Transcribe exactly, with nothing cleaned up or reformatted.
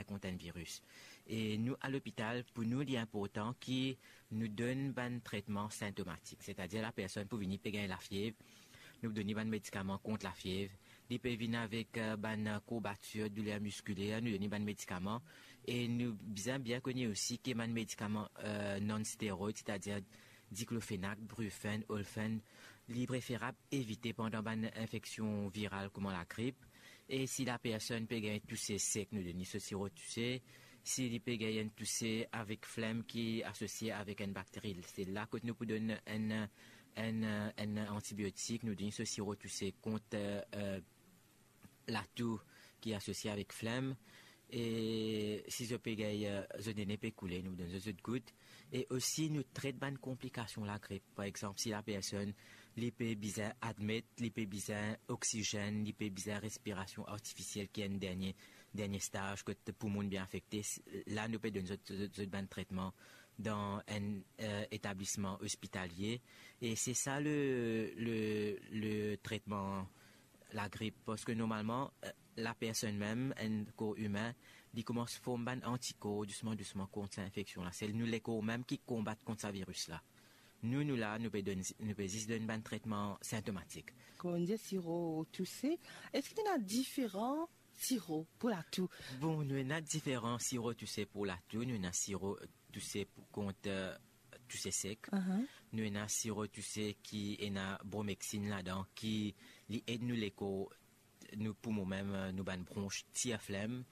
kont enn viris. E nou, a lopital, pou nou, li inportan ki nou donn bann tretman sintomatik, setadir lapersonn pou vini pe gagn lafiev, nou donn li bann medikaman kont lafiev, li pe vinn avek, eh, bann, eh, kourbatir, douler miskiler, nou donn li bann medikaman. E nou bizin bien kone osi ki bann medikaman, eh, non-steroid, setadir diklofenak, brufen, olfen, li preferab evite pandan bann infeksion viral kouma lagrip. E si lapersonn pe gagn touse sek, nou donn li so siro touse. Si li pe gagn enn touse avek flem ki asosie avek enn bakteri, se la kot nou pou donn enn, enn, enn antibiotik, nou donn li so siro touse kont, eh, latou ki asosie avek flem. E si zot pe gagn, eh, zot nene pe koule, nou donn zot, zot gout. E osi nou tret bann konplikasion lagrip. Par exanp, si lapersonn, li pe bizin admet, li pe bizin oksizenn, li pe bizin respirasion artifisiel, ki enn dernie, dernie staz kot poumon bien afekte, s-, la nou pe donn zot, zot, zot bann tretman dan enn, eh, etablisman ospitalie. E se sa le, le, le tretman lagrip, parski normalman, eh, lapersonn mem, enn kor imin, li koumans form bann antikor dousman, dousman kont sa infeksion la. Se nou lekor mem ki konbat kont sa viris la. Nou, nou la, nou pe donn, nou pe zis donn bann tretman sintomatik. Kan nou dir siro touse, eski ena diferan siro pou latou? Bon, nou ena diferan siro touse pou latou. Nou ena siro touse pou, kont, eh, touse sek. Aha. Nou ena siro touse ki ena bromexine ladan, ki li ed nou lekor, nou poumon mem, eh, nou bann brons tir flem,